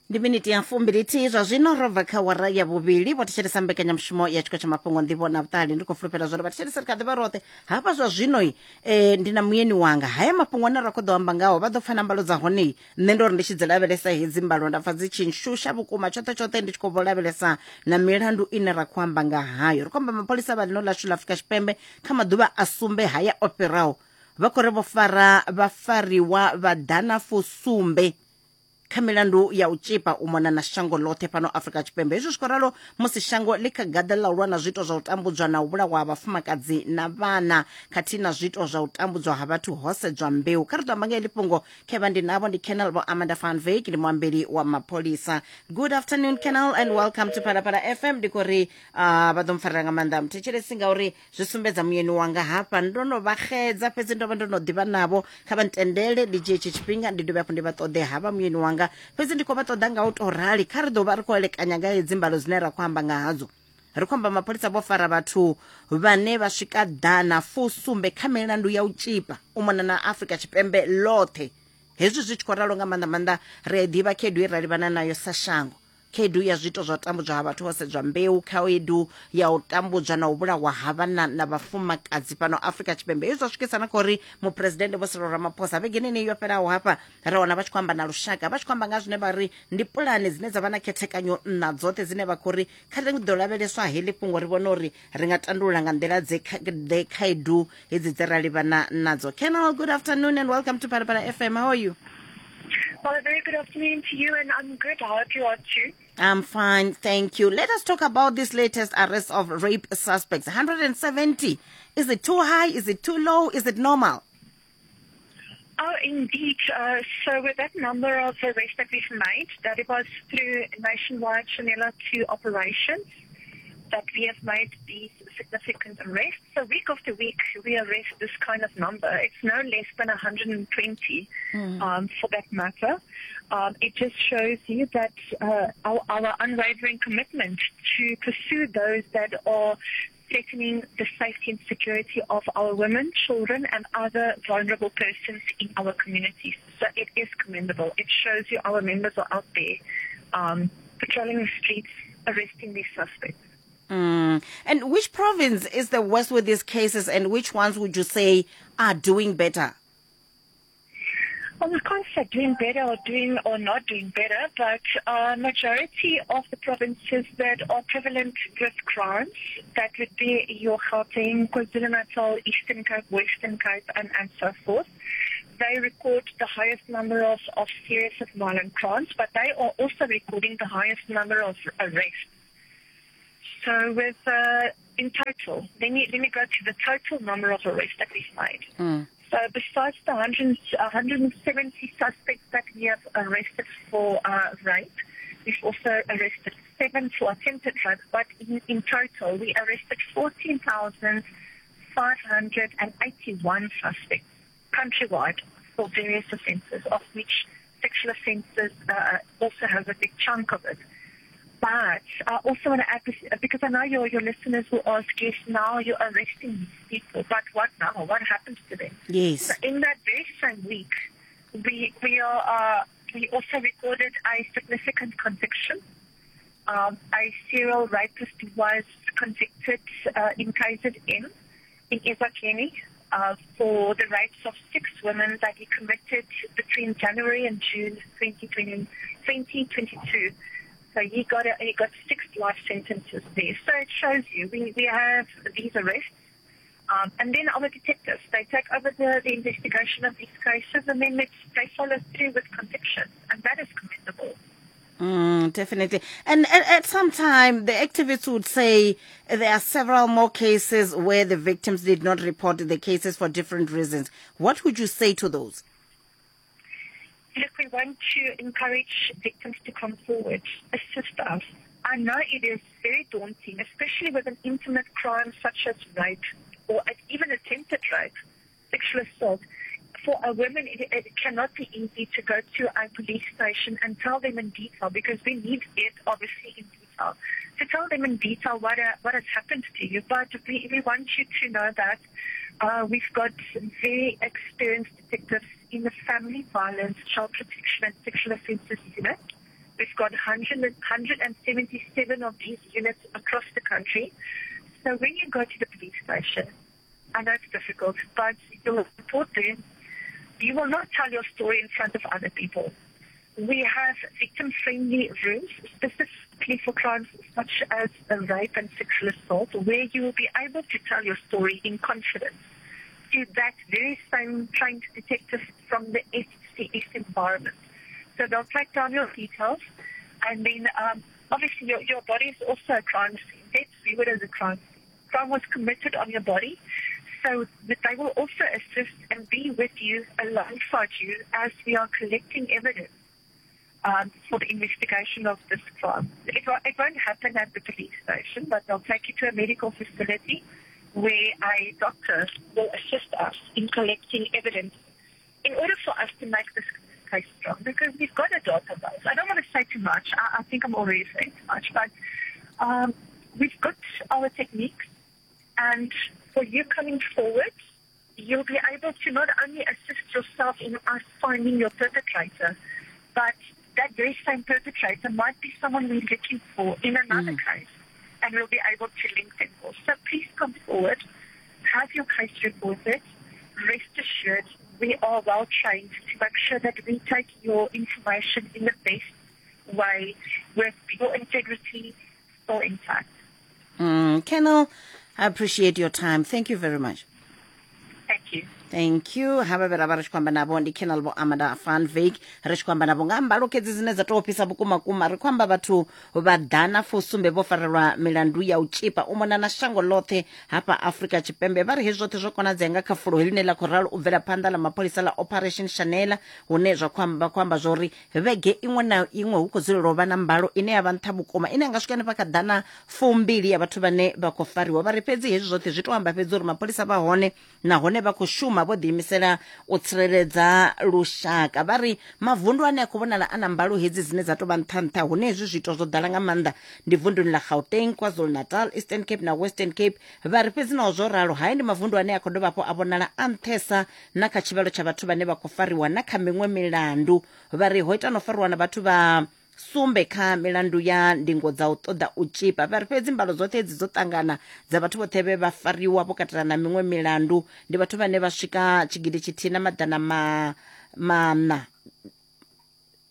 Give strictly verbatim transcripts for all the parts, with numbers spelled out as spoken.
Ndi miniti ya fumbilithihi zwa zwino ro bva kha wara ya vhuvhili. Vho thetshelesa mbekanyamushumo ya tshiko tsha mafhungo nḓivho na vhuṱali. Ndi khou fulufhela zwori vha thetshelesa ri kha ḓivha roṱhe hafha zwa zwino. eh, ndi na muyeni wanga, haya mafhungo ane ra khou ḓo amba ngaho vha ḓo pfa na mbalo dza hone. Nṋe ndo ri ndi tshi dzi lavhelesa hedzi mbalo nda pfa dzi tshi nshusha vhukuma tshoṱhe tshoṱhe, ndi tshi khou vho lavhelesa na milandu ine ra khou amba nga hayo. Ri khou amba mapholisa vha ḽino ḽashu ḽa Afrika Tshipembe kha maḓuvha a sumbe haya o fhiraho vha khou ri vho fara vhafariwa vha ḓana fusumbe kha milandu ya u tshipa u mona na shango ḽoṱhe fhano Afrika Tshipembe. Hezwi zwi khou ralo musi shango ḽi kha gaḓa ḽa u lwa na zwiito zwa u tambudzwa na u vhulawa ha vhafumakadzi na vhana khathihi na zwiito zwa u tambudzwa ha vhathu ho sedzwa mbeu. Kha ri ḓo amba nga heḽi fhungo khevha ndi navho ndi Colonel Vho Amanda van Wyk, ndi muambeli wa mapholisa. Good afternoon, Colonel, and welcome to Phalaphala F M. Ndi khou ri uh, vha ḓo mpfarela nga maanḓa muthetshelesi ngauri zwi sumbedza muyeni wanga hafha ndo no vha xedza, fhedzi ndo vha ndo no ḓivha navho. Kha vha ntendele ndi dzhie tshi tshifhinga ndi dovhe hafhu ndi vha ṱoḓe havha muyeni wanga, fhedzi ndi khou vha ṱoḓa nga u tou rali. Kha ri ḓo vha ri khou elekanya nga hedzi mbalo dzine ra khou amba nga hadzo. Ri khou amba mapholisa vho fara vhathu vhane vha swika ḓana fusumbe kha milandu ya u tshipa u mona na Afrika Tshipembe ḽoṱhe. Hezwi zwi tshi khou ralo nga maanḓa maanḓa ri a ḓivha khaedu ye ra livhana nayo sa shango, khaedu ya zwiito zwa u tambudzwa ha vhathu ho sedzwa mbeu, khaedu ya u tambudzwa na u vhulawa ha vhana na vhafumakadzi fhano Afrika Tshipembe. Hezwi zwa swikisa na kha uri muphuresidennde Vho Cyril Ramaphosa vhegeni yeneyi yo fhelaho hafha ra wana vha tshi khou amba na lushaka, vha tshi khou amba nga zwine vha ri ndi pulane dzine dza vha na khethekanyo nṋa dzoṱhe dzine vha khou ri kha ri ḓo lavheleswa heḽi fhungo ri vhone uri ri nga tandulula nga nḓila dze ḓe khaedu hedzi dze ra livhana nadzo. Colonel, good afternoon and welcome to Phalaphala F M. How are you? Well, a very good afternoon to you, and I'm good. I hope you are too. I'm fine, thank you. Let us talk about this latest arrest of rape suspects. one hundred seventy. Is it too high? Is it too low? Is it normal? Oh, indeed. Uh, so with that number of arrests that we've made, that it was through nationwide Shanela two operations that we have made these significant arrests. So week after week, we arrest this kind of number. It's no less than one hundred twenty, mm. um, for that matter. Um, it just shows you that uh, our, our unwavering commitment to pursue those that are threatening the safety and security of our women, children, and other vulnerable persons in our communities. So it is commendable. It shows you our members are out there um, patrolling the streets, arresting these suspects. Mm. And which province is the worst with these cases, and which ones would you say are doing better? Well, we can't say doing better or doing or not doing better, but uh, majority of the provinces that are prevalent with crimes, that would be your Gauteng, KwaZulu-Natal, Eastern Cape, Western Cape, and, and so forth. They record the highest number of, of serious and violent crimes, but they are also recording the highest number of arrests. So with uh, in total, let me let me go to the total number of arrests that we've made. Mm. So besides the one hundred, one hundred seventy suspects that we have arrested for uh, rape, we've also arrested seven for attempted rape. But in, in total, we arrested fourteen thousand five hundred eighty-one suspects countrywide for various offences, of which sexual offences uh, also has a big chunk of it. But I also want to add this, because I know your, your listeners will ask, yes, now you're arresting these people, but what now? What happens to them? Yes. So in that very same week, we, we, are, uh, we also recorded a significant conviction. Um, a serial rapist was convicted uh, in K Z N, in Ezakheni, uh, for the rapes of six women that he committed between January and June twenty twenty, twenty twenty-two. So he got a, he got six life sentences there. So it shows you we, we have these arrests. Um, and then our detectives, they take over the, the investigation of these cases, and then they, they follow through with convictions, and that is commendable. Mm, definitely. And at, at some time, the activists would say there are several more cases where the victims did not report the cases for different reasons. What would you say to those? Look, we want to encourage victims to come forward, assist us. I know it is very daunting, especially with an intimate crime such as rape or even attempted rape, sexual assault. For a woman, it, it cannot be easy to go to a police station and tell them in detail, because we need it obviously in detail, to tell them in detail what, uh, what has happened to you. But we, we want you to know that uh, we've got very experienced detectives in the family violence, child protection and sexual offences unit We've got one hundred seventy-seven of these units across the country. So when you go to the police station, I know it's difficult, but you'll report there. You will not tell your story in front of other people. We have victim-friendly rooms specifically for crimes such as rape and sexual assault, where you will be able to tell your story in confidence to that very same trained detective from the S C S environment. So they'll take down your details, and then um, obviously your, your body is also a crime scene. Let's view it as a crime scene. Crime was committed on your body, so that they will also assist and be with you alongside you as we are collecting evidence um, for the investigation of this crime. It, it won't happen at the police station, but they'll take you to a medical facility where a doctor will assist us in collecting evidence in order for us to make this case strong, because we've got a database. I don't want to say too much. I, I think I'm already saying too much, but um, we've got our techniques, and for you coming forward, you'll be able to not only assist yourself in us finding your perpetrator, but that very same perpetrator might be someone we're looking for in another mm. case, and we'll be able to link them all. So please come forward, have your case reported. Rest assured, we are well trained to make sure that we take your information in the best way with your integrity still intact. Mm, Colonel, I appreciate your time. Thank you very much. Thank you. Thank you. Havha vhe ra vha ri tshi khou amba navho ndi Colonel Vho Amanda van Wyk, ri tshi khou amba navho nga mbalo kedzi dzine dza tou fhisa vhukuma kuma. Ri khou amba vhathu vha ḓana fusumbe vho farelwa milandu ya u tshipa u mona na shango ḽoṱhe hafha Afrika Tshipembe. Vha ri hezwi zwoṱhe zwo konadzea nga kha fulo heḽine ḽa khou ralo u bvela phanḓa ḽa mapholisa ḽa Operation Shanela, hune zwa khou amba khou amba zwori vhege iṅwe na iṅwe hu khou dzulela u vha na mbalo ine ya vha nṱha vhukuma, ine ya nga swika hanefha kha ḓana fumbili ya vhathu vhane vha khou fariwa. Vha ri fhedzi hezwi zwoṱhe zwi tou amba fhedzi uri mapholisa vha hone nahone vha khou shuma vho ḓiimisela u tsireledza lushaka. Vha ri mavundu ane a khou vhonala a na mbalo hedzi dzine dza tou vha nṱha nṱha, hune hezwi zwiito zwo ḓala nga maanḓa ndi vunduni ḽa Gauteng, KwaZulu-Natal, Eastern Cape na Western Cape. Vha ri fhedzi naho zwo ralo, hai ndi mavundu ane a khou dovha hafhu a vhonala a nṱhesa na kha tshivhalo tsha vhathu vhane vha khou fariwa na kha miṅwe milandu. Vha ri ho ita no fariwa na vhathu vha sumbe kha milandu ya ndingo dza u ṱoḓa u tshipa. Vha ri fhedzi mbalo dzoṱhe hedzi dzo ṱangana dza vhathu vhoṱhe vhe vha fariwa vho katela na miṅwe milandu ndi vhathu vhane vha swika tshigidi tshithihi na maḓana ma maṋa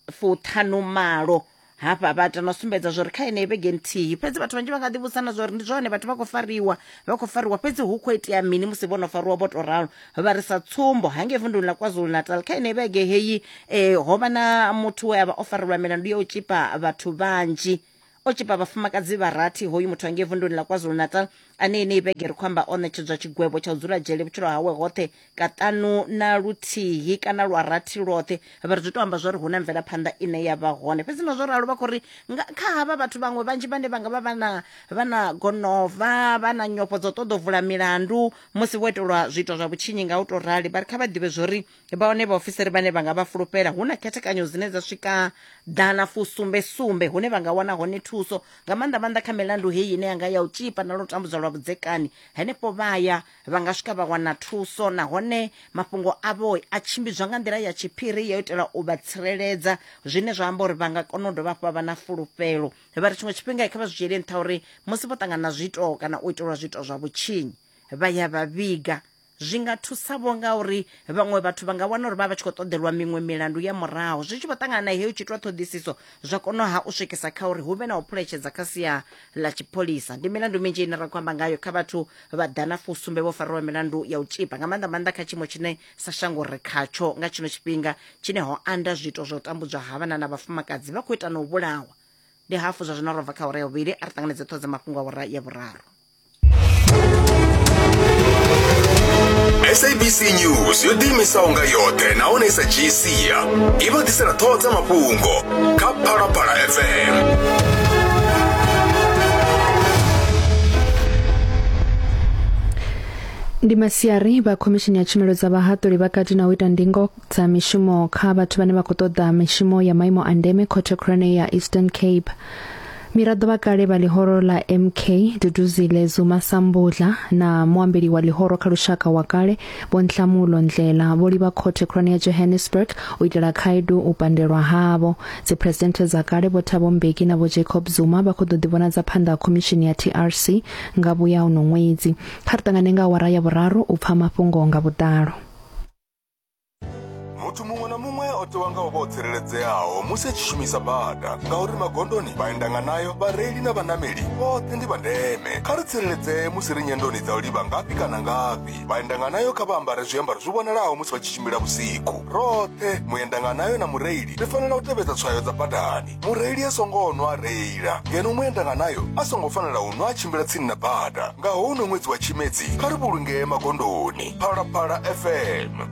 fuṱhanu malo. Hafha vha ita no sumbedza zwori kha yeneyi vhege nthihi fhedzi vhathu vhanzhi vha nga ḓivhudzana zwori ndi zwone vhathu vha khou fariwa vha khou fariwa fhedzi hu khou itea mini musi vho no fariwa vho to ralo. Vha ri sa tsumbo hangei vunduni ḽa KwaZulu-Natal kha yeneyi vhege heyi eh, ho vha na muthu we a vha o farelwa milandu ya u tshipa vhathu vhanzhi, o tshipa vhafumakadzi vha rathi. Hoyu muthu hangei vunduni ḽa KwaZulu-Natal ane yeneyi vhege ri khou amba o ṋetshedzwa tshigwevho tsha u dzula dzhele vhutshilo hawe hoṱhe kaṱanu na luthihi kana lwa rathi lwoṱhe. Vha ri zwi to amba zwori hu na mvelaphanḓa ine ya vha hone. Fhedzi na zwo ralo vha khou ri kha havha vhathu vhaṅwe vhanzhi vhane vha nga vha vha na vha na gonova vha na nyofho dzo ṱoḓa u vula milandu musi vho itelwa zwiito zwa vhutshinyi nga u to rali, vha ri kha vha ḓivhe zwori vha hone vhaofisiri vhane vha nga vha fulufhela. Hu na khethekanyo dzine dza swika ḓana fusumbe sumbe hune vha nga wana hone thuso nga maanḓa maanḓa kha milandu heyi ine yanga ya u tshipa na lutambudzo lwa vhudzekani. Henefho vhaya vha nga swika vha wana thuso, nahone mafhungo avho a tshimbidzwa nga nḓila ya tshiphiri ya itela u vha tsireledza, zwine zwa amba uri vha nga kona u dovha hafhu vha vha na fulufhelo. Vha ri tshiṅwe tshifhinga kha vha zwi dzhiele nṱha uri musi vho ṱangana na zwiito kana u itelwa zwiito zwa vhutshinyi vha ya vha vhiga, zwi nga thusa vho ngauri vhaṅwe vhathu vha nga wana uri vha vha tshi khou ṱoḓelwa miṅwe milandu ya murahu. Zwi tshi vho ṱangana na heyo tshi itwa ṱhoḓisiso zwa kona ha u swikisa kha uri hu vhe na u phuletshedza kha sia ḽa tshipholisa. Ndi milandu minzhi ine ra khou amba ngayo kha vhathu vha ḓana fusumbe vho fariwa milandu ya u tshipa, nga maanḓa maanḓa kha tshiimo tshine sa shango ri khatsho nga tshino tshifhinga tshine ho anda zwiito zwa u tambudzwa ha vhana na vhafumakadzi vha khou ita na u vhulawa. Ndi hafu zwa zwino ro bva kha awara ya vhuvhili, a ri ṱanganedze ṱhoho dza mafhungo a awara ya vhuraru. S A B C News yo ḓiimisaho nga yoṱhe nahone i sa dzhii sia i vha ḓisela ṱhoho dza mafhungo kha Phalaphala F M. Ndi masiari vha khomishini ya tshumelo dza vhahaṱuli vha kati na u ita ndingo dza mishumo kha vhathu vhane vha khou ṱoḓa mishumo ya maimo a ndeme khothe khulwane ya Eastern Cape. Miraḓo vha kale vha ḽihoro ḽa M K Duduzile Zuma Sambudla na muambeli wa ḽihoro kha lushaka wa kale Vho Nhlamulo Ndlela vho livha khothe khulwane ya Johannesburg u itela khaedu u pandelwa havho. Dziphuresidennde dza kale Vho Thabo Mbeki na Vho Jacob Zuma vha khou ḓo ḓivhonadza phanḓa ha khomishini ya T R C nga vhuya uno ṅwedzi. Kha ri ṱangane nga awara ya vhuraru u pfa mafhungo nga vhuḓalo. Muthu muṅwe na muṅwe o tewa nga u vha o tsireledzeaho musi a tshi shumisa bada, ngauri magondoni, vhaendanganayo, vhareili na vhanameli vhoṱhe ndi vha ndeme. Kha ri tsireledzee musi ri nyendoni dza u livha ngafhi kana ngafhi. Vhaendanganayo kha vha ambare zwiambaro zwi vhonalaho musi vha tshi tshimbila vhusiku. Roṱhe, muendanganayo na mureili, ri fanela u tevhedza tswayo dza badani. Mureili a songo nwa a reila, ngeno muendanganayo a songo fanela u nwa a tshimbila tsini na bada. Nga houno ṅwedzi wa Tshimedzi, kha ri vhulungee magondoni. Phalaphala F M.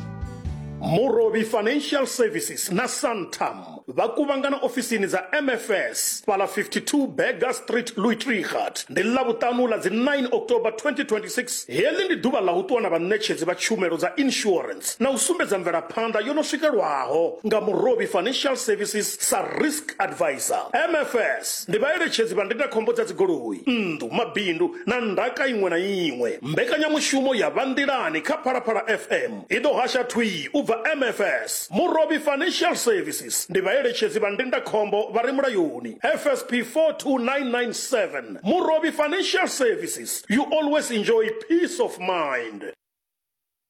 Murovhi Financial Services na Santam vha kuvhangana ofisini dza M F S fhala fifty-two Berger Street, Louis Trichardt. Ndi ḽavhuṱanu ḽa dzi nine October twenty twenty-six. Heḽi ndi ḓuvha ḽa u ṱuwa na vhaṋetshedzi vha tshumelo dza insurance na u sumbedza mvelaphanḓa yo no swikelwaho nga Murovhi Financial Services sa risk advisor. M F S ndi vhaeletshedzi vha ndindakhombo dza dzigoloi, nnḓu, mabindu na ndaka iṅwe na iṅwe. Mbekanyamushumo ya Vhanḓilani kha Phalaphala F M i ḓo hasha thwii u bva M F S. Murovhi Financial Services ndi vhaeletshedzi vha ndindakhombo vha re mulayoni. F S P four two nine nine seven. Murovhi Financial Services, you always enjoy peace of mind.